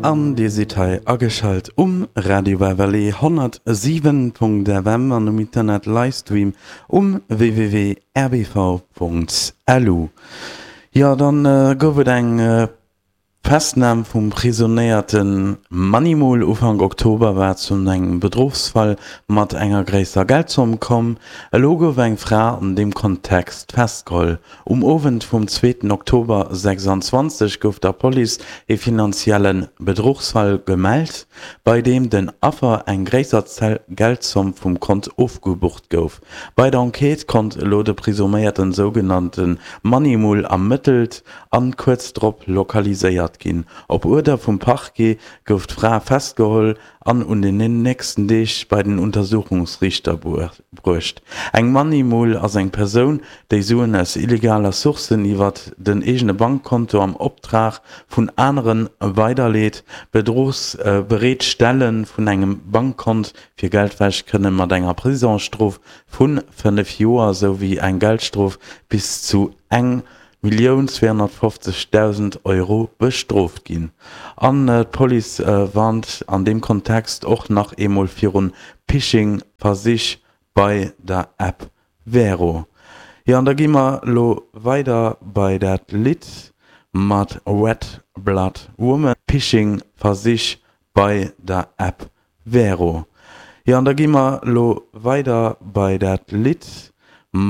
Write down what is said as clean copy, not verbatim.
An dir sidd hei ageschalt um Radio Beverly 107.fm an um Internet Livestream um www.rbv.lu. Jo, dann gouf et eng Festnam vum prisonéierte Money-Mule. Ufank Oktober war et zu engem Bedruchsfall mat enger gréisser Geldzomm komm. Elo gouf eng Fra an deem Kontext festgeholl. Um Owend vum zweeten Oktober 26 gouf der Police ee finanzielle Bedruchsfall gemellt, bei deem den Affer eng gréisser Geldzomm vum Kont ofgebucht gouf. Bei der Enquête konnt elo de presuméierten sougenannte Money-Mule ermëttelt an kuerz drop lokaliséiert ginn. Op Uerder vum Parquet gouf d'Fra festgeholl an un den nächsten Deeg bei den Untersuchungsriichter bruecht. Eng Money Mule ass eng Persoun, déi Suen aus illegaler Sourcen iwwert den eegene Bankkonto am Optrag vun anere weiderleet. Bedruchsbereetstelle vun engem Bankkont fir Geldwäsch kënne mat enger Prisongsstrof vu 5 Joer souwéi eng Geldstrof bis zu eng 1.250.000 Euro bestrooft ginn. An d'Police warnt an deem Kontext och nach eemol virun Phishing-Versich bei der App Wero. Jo, an da gi mer lo weider bei dat Lidd mat Red Blood Woman. Phishing-Versich bei der App Wero. Jo, an da gi mer lo weider bei dat Lidd.